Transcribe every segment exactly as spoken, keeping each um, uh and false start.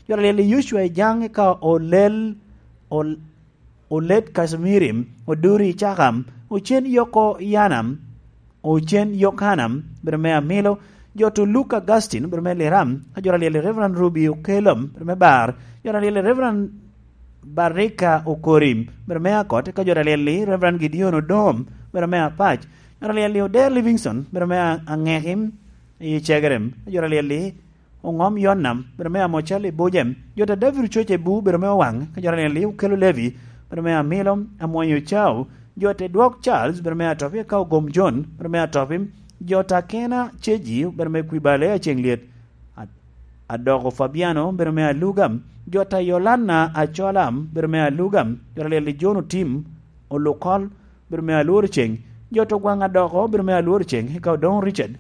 Jot alyel i Yocwa i Jaŋ, eka Olel, Ol-, Olet Kacimirim, Oduri Cakam, Ocen Yoko Yanam, Ocen Yokanam, bedo me Amilo, jot Luke Augustine, bedo me Liram, ka jot alyel i Reverend Ruby Okelom, bedo me Bar, jot alyel i Reverend Barika Okorim, bedo me Akot, ka jot alyel i Reverend Gideon Odom, bedo me Apac, jot alyel i Oder Livingstone, bedo me A-, Aŋekim i Cegerem, ka jot alyel i Oŋom Yonnam, bedo me Amocal i Bujem, jot a David Ococ i Bu, bedo me Owaŋ, ka jot alyel i Okelo Levi, bedo me Amilo, Amwonyo Ocau, jot a Dwok Charles, bedo me Atopi, ka Ogom John, bedo me Atopi, jot a Kena Ceji, bedo me Kwibale Aceŋ Lyet, a-, Adoko Fabiano, bedo me Aluga, jot a Yolana Acola, bedo me Aluga, jot alyel i John Otim, Olukol, bedo me Alwor Ceŋ, jot Ogwaŋ Adoko, bedo me Alwor Ceŋ, eka Odoŋo Richard,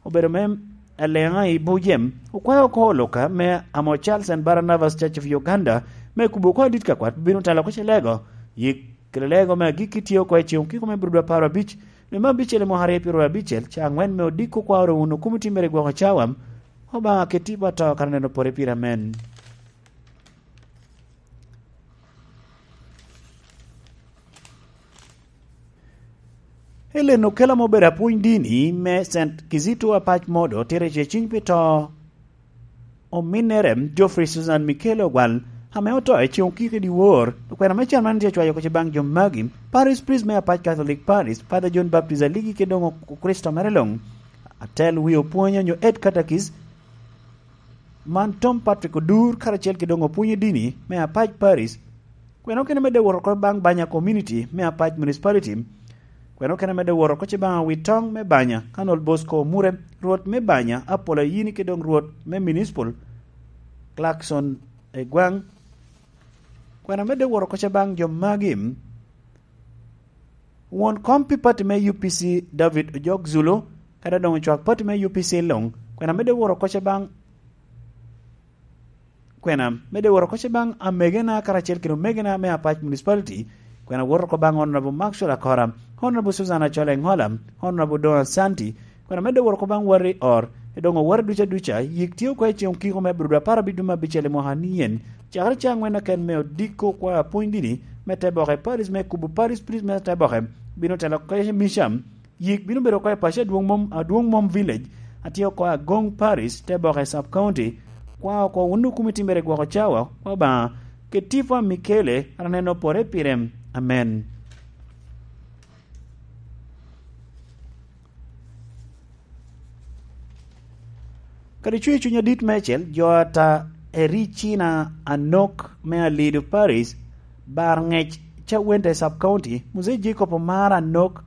obedo me Aleŋa i Bujem, okwao oko Oluka me Amocal Saint Barnabas Church of Uganda, me kubo oko adit ka kwat bino talo oko Celego, yik kede lego me agikki tye oko i ceŋ okiko me Brudo apar abic, dwe me abicel i mwaka aryo pyeraryo abicel, ca aŋwen me odiko kwa oro wun okum otimmere i gwoko cawa, Obaŋa keti pa to kara neno pore pire, amen. Ellen Okela ma obedo apwony dini me Saint Kizito Apac Modo tito i ceciny pi to ominnere Geoffrey Susan Michael Ogwal, ame oto i ceŋ okiko i dyewor. Okwena me can man tye acwayo kec baŋ jo magi: Parish Priest me Apac Catholic Parish, Father John Baptist Aligi, kede doŋ Okricito mere luŋ, atel wi opwony onyo head catechist, man Tom Patrick Odur, karacel kede doŋ opwonyo dini me Apac Parish. Kwena okene medde woro oko baŋ Banya Community me Apac Municipality. Kwena okene medde woro oko ce baŋ Awitoŋ me Banya, Colonel Bosco Omure, Rwot me Banya, Apollo Ayini, kede doŋ Rwot me Municipal, Clarkson Egwaŋ. Kwena medde woro oko ce baŋ jo magi: Won kom pi pati me U P C, David Ojok Zulu, kadi doŋ ocwak pati me U P C luŋ. Kwena medde woro oko ce baŋ, kwena medde woro oko ce baŋ amegena karacel kede omegena me Apac Municipality. Kwena woro oko baŋ Honorable Maxwell Akora, Honorable Susan Achol Engola, Honorable Don Asanti. Kwena medde woro oko baŋ wati or, e doŋ owati duca duca, yik tye oko i ceŋ okiko me Aburudu apar abic dwe me abicel i mwaka ni en, cakere ca aŋwen aken me odiko kwa apwony dini me te boke, Parish me kubo, Parish Priest me te boke, bino telo oko i Misham. Yik bino bedo oko i paco adwoŋ mom, adwoŋ mom Village, atye oko Agoŋ Parish, te boke Sub County. Kwa oko wun okum itimmere gwoko cawa, kwa Obaŋa, keti pa Mikele, aneno pore pire. Amen. Kadi cuŋ i cuny adit meicel, jo ata Ericina Anok me Alido Parish, bar ŋec Cawente Sub County, Muzei Jacob Omar Anok,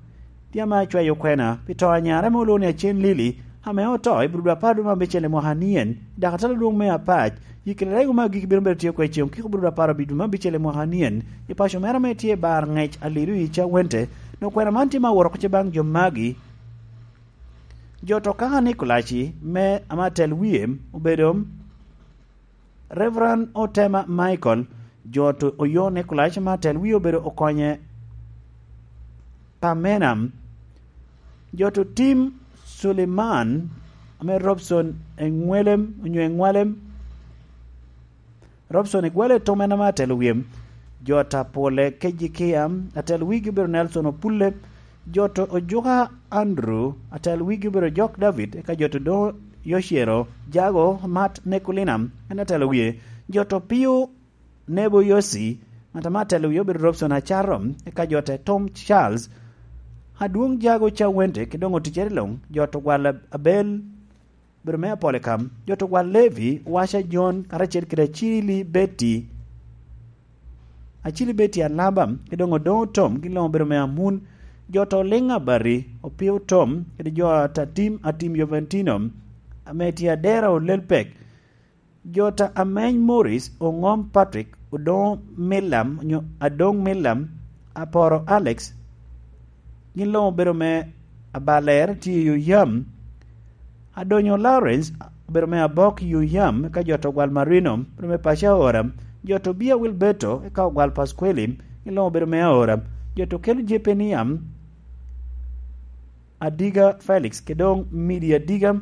tye ame acwayo kwena pi to a nyare ame olwoŋo ni Acen Lili, ame oto i Burudu apar dwe me abicel i mwaka ni en, i dakatala adwoŋ me Apac, i kare rego me agikki bino bedo tye oko i ceŋ okiko Burudu apar abic dwe me abicel i mwaka ni en, i paco mere ame tye i bar ŋec Alido i Cawente. Dok kwena man tye me aworo oko ce baŋ jo magi. Jo to kaka Nikolaci me ame atel wie obedo Reverend Otema Michael, jo to oyo Nikolaci me atel wie obedo Okonye Pamena, jo to Tim Suleiman ame Robson Eŋwelem onyo Eŋwalem, Robson Igwale Tom en ame atelo wie. Jo ta Pole Kejikia, atelo wigi obedo Nelson Opulle. Jo to Ojuka Andrew, atelo wigi obedo Jok David, eka jo to do Yocero Jago Mat Nekulina, en atelo wie. Jo to Pio Nebo Yosi, ŋat ame atelo wie obedo Robson Acaro, eka jo te Tom Charles. Adwoŋ Jago Cawente, ki doŋ oticere luŋ, jo to Gwal Abel, bedo me Apolikam, jo to Gwal Levi, Waca Jon, karacel kede Acili Beti, Acili Beti Alaba, ki doŋ Odoŋo Tom, gin luŋ obedo me Amun, jo to Liŋ Abati, Opio Tom, kede jo ta Tim, Atim Joventino, ame tye Adera Olelpek, jo ta Ameny Morris, Oŋom Patrick, Odoŋo Milam, onyo Adoŋ Milam, Aporo Alex, gin luŋ obedo me Abaler tye i Oyam. Adonyo Lawrence obedo me Abok i Oyam, eka jo to Ogwal Marino obedo me paco Aora. Jo to Bia Wilberto, eka Ogwal Pasqueli, gin luŋ obedo me Aora. Jo to Kelo Jepeniam, Adiga Felix, kede doŋ Midi Adiga,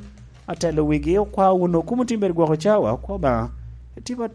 atelo wigi, okwa wunu kumo tim bedo gwoko cawa, okwa Obaŋa. Etipa